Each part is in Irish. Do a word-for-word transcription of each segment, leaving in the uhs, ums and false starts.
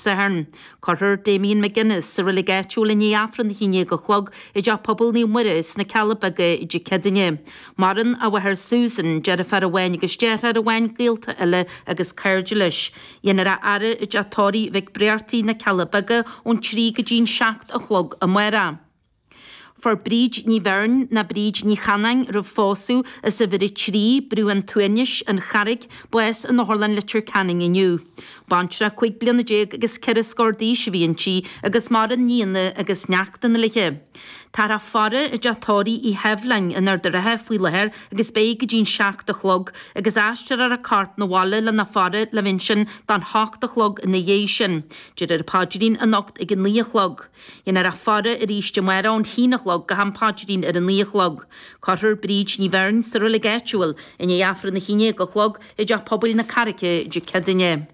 Sathairn. Cuirfear Damien McGuinness sa reilig áitiúil i ndiaidh Aifreann a haon déag a chlog i dTeach Pobail Naomh Muire sna Cealla Beaga Dé Céadaoine. Maireann a mháthair Susan, deirfiúr amháin agus deartháir amháin, gaolta eile agus cairde leis. Dhéanfar a fhaire i dteach tórraimh Mhic Bréartaigh na Cealla Beaga ón trí go dtí'n seacht a chlog amárach. Fuair Bríd Ní Bheirn ná Bríd Ní Chanáin roimh phósadh as uimhir a trí, Brú an tSuaimhnis, an Charraig, bás in Otharlann Leitir Ceanainn inniu. Baintreach cúig bliana déag agus ceithre scór d'aois a bhí inti agus maireann nianna agus neachtanna léi. Táthar á faire i dteach tórraimh Uí Sheibhleáin in Ard an Rátha faoi láthair agus beidh go dtí'n seacht a chlog agus aistreofar a corp 'na bhaile lena faire le bheith ansin don hocht a chlog ina dhiaidh sin. Déarfar an paidrín anocht ag a naoi a chlog. Dhéanfar a faire arís amárach ón haon a chlog go ham paidrín ar a naoi a chlog. Cuirfear Bríd Ní Bheirn sa reilig áitiúil i ndiaidh Aifreann a haon déag a chlog i dteach pobail na Carraice Dé Céadaoine.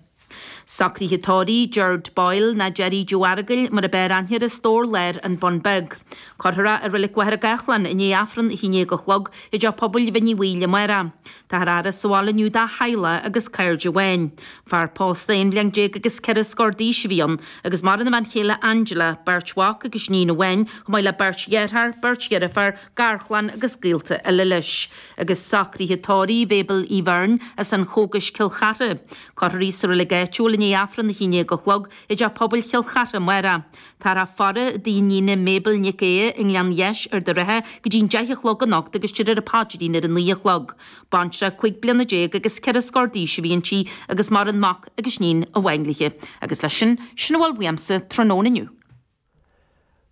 Socruithe tórraimh Gerard Boyle ná Jerry Joe Aragail mar a b'fhearr aithne air as Stór Láir an Bun Beag. Cuirfear é i reilig Mhachaire Gathlán i ndiaidh Aifreann a haon déag a chlog i dteach pobail Bhinn Uí Bhaoill amárach. Táthar á fhaire sa bhaile inniu dá theaghlach agus cairde amháin. Fear pósta aon bhliain déag agus ceithre scór d'aois a bhí ann, agus maireann a bhean chéile Angela, beirt mhac agus níon amháin, chomh maith le beirt dheartháir, beirt dheirfiúr, garchlann agus gaolta eile leis. Agus socruithe tórraimh Mhabel Uí Bheirn as an Chógais Cill Chartha. Cuirfear í sa reilig áitiúil i ndiaidh Aifreann a haon déag a chlog i dteach pobail Chill Chartha amárach. Táthar á faire i dtigh a níne Mabel Nic Aodha i nGleann Dheis Ard an Rátha go dtí'n deich a chlog anocht agus déarfar an paidrín ar a naoi a chlog. Baintreach cúig bliana déag agus ceithre scór d'aois a bhí inti agus maireann mac agus níon amháin léi. Agus leis sin, sin a bhfuil uaimse tráthnóna inniu.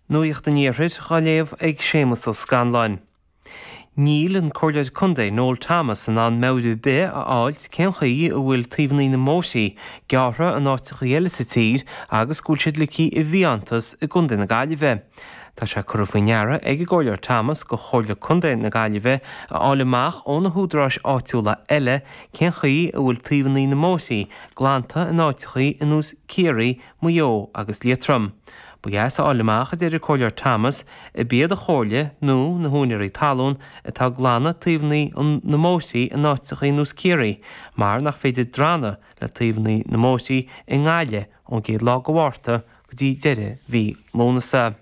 Nuacht an Iarthair á léamh ag Séamus Ó Scanláin. Níl an Comhairleoir Contae Noel Thomas in ann meabhrú ar bith a fháilt cén chaoi a bhfuil taobhanna na mbóithrí gearrtha in áiteacha eile sa tír agus go bhfuil siad ligthe i bhfiántas i gContae na Gaillimhe. Tá sé curtha faoi ndeara ag an gComhairleoir Thomas go Chomhairle Contae na Gaillimhe a fháil amach ó na húdaráis áitiúla eile cén chaoi a bhfuil taobhanna na mbóithrí glanta in áiteacha ar nós Ciarraí, Maigh Eo agus Liatroim. Ba dheas a fháil amach a deir an Comhairleoir Thomas ab iad an Chomhairle nó na húinéirí talún atá ag glanadh taobhanna na mbóithrí in áiteacha ar nós Ciarraí, mar nach féidir drannadh le taobhanna na mbóithrí i nGaillimh ón gcéad lá de Mhárta go dtí deireadh mhí Lúnasa.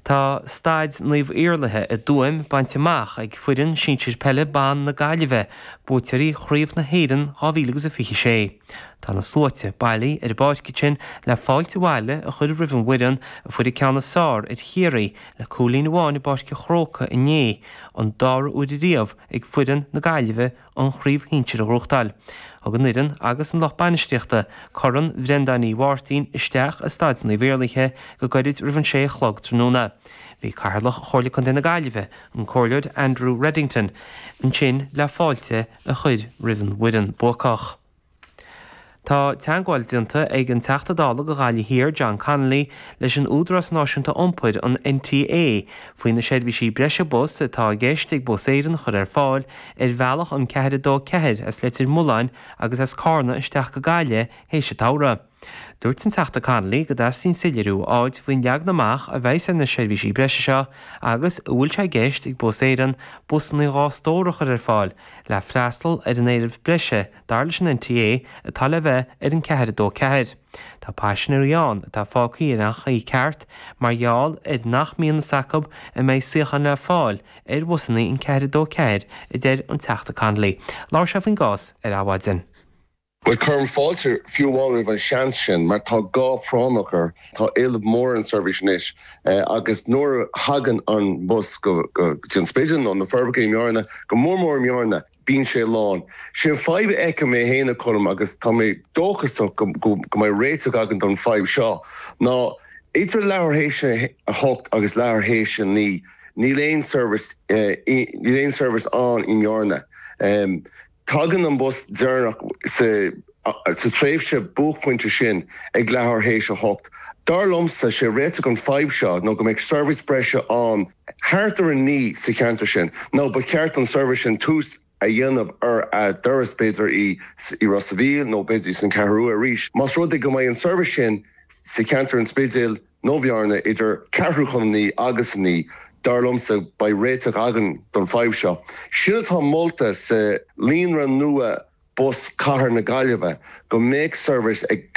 Tá staid Naomh Iarlaithe i dTuaim bainte amach ag foireann sinsir peile ban na Gaillimhe, buaiteoirí Chraobh na hÉireann dhá mhíle agus a fiche sé. Tá na sluaite bailithe ar an bpáirc ansin le fáilte abhaile a chur roimh an bhfoireann a fuair an ceann is fearr ar Chiarraí le cúilín amháin i bPáirc an Chrócaigh inné, an dara huair riamh ag foireann na Gaillimhe an chraobh shinsir a ghnóthachtáil. Thug an fhoireann agus an lucht bainistíochta Corn Bhrendáin Uí Mháirtín isteach i Staid Naomh Iarlaithe go gairid roimh an sé a chlog tráthnóna. Bhí Cathaoirleach Chomhairle Contae na Gaillimhe, an Comhairleoir Andrew Reddington, ansin le fáilte a chur roimh an bhfoireann buacach. Tá teagmháil déanta ag an Teachta Dála do Ghaillimh Thiar, John Connolly, leis an Údarás Náisiúnta Iompair, an NTA, faoi na seirbhísí breise bus atá i gceist ag Bus Éireann a chur ar fáil ar bhealach an ceathair a dó ceathair as Leitir Mealláin agus as Carna isteach go Gaillimh théis an tsamhraidh. Dúirt an Teachta Connolly go dteastaíonn soiléiriú a fháilt faoin leagan amach a bheas ar na seirbhísí breise seo agus an bhfuil sé i gceist ag Bus Éireann busanna dhá stór a chur ar fáil le freastal ar an éileamh breise dar leis an NTA atá le bheith ar an ceathair a dó ceathair. Tá paisinéirí ann atá fágtha ar an chaoi ceart mar gheall ar nach mbíonn fhios acu an mbeidh suíocháin le fáil ar bhusanna an ceathair a dó ceathair, a deir an Teachta Connolly. Labhair sé faoin gcás ar Adhmhaidin. Bhuel, cuirim fáilte fiú amháin roimh an seans sin, mar tá gá práinneach air, tá éileamh mór ar an seirbhís anois agus nuair a thagann an bus go dtí an Spidéal nó na Forbacha i mBearna, go mór mór i mBearna, bíonn sé lán. Sin fadhb a fheicim mé féin a Cholm agus tá mé dóchasach go mbeidh réiteach againn don fadhb seo, ná idir leathuair théis a hocht agus leathuair théis a naoi, níl aon seirbhís, níl aon seirbhís ann i mBearna. Tagann an bus deireanach sa tréimhse buaicphointe sin ag leathuair théis a hocht. Dar liomsa, sé réiteach an fadhb seo nó go mbeidh seirbhís breise ann thart ar a naoi sa cheantar sin. Nó ba cheart don seirbhís sin tús a dhéanamh ar a dturas b'fhéidir i Ros a' Mhíl nó b'fhéidir san Cheathrú Rua arís. Más rud é go mbeidh an seirbhís sin sa cheantar an Spidéil nó Bhearna idir ceathrú chun a naoi agus a naoi, dar liomsa, beidh réiteach againn don fadhb seo. Sin atá molta sa líonra nua bus Cathair na Gaillimhe, go mbeadh seirbhís ag.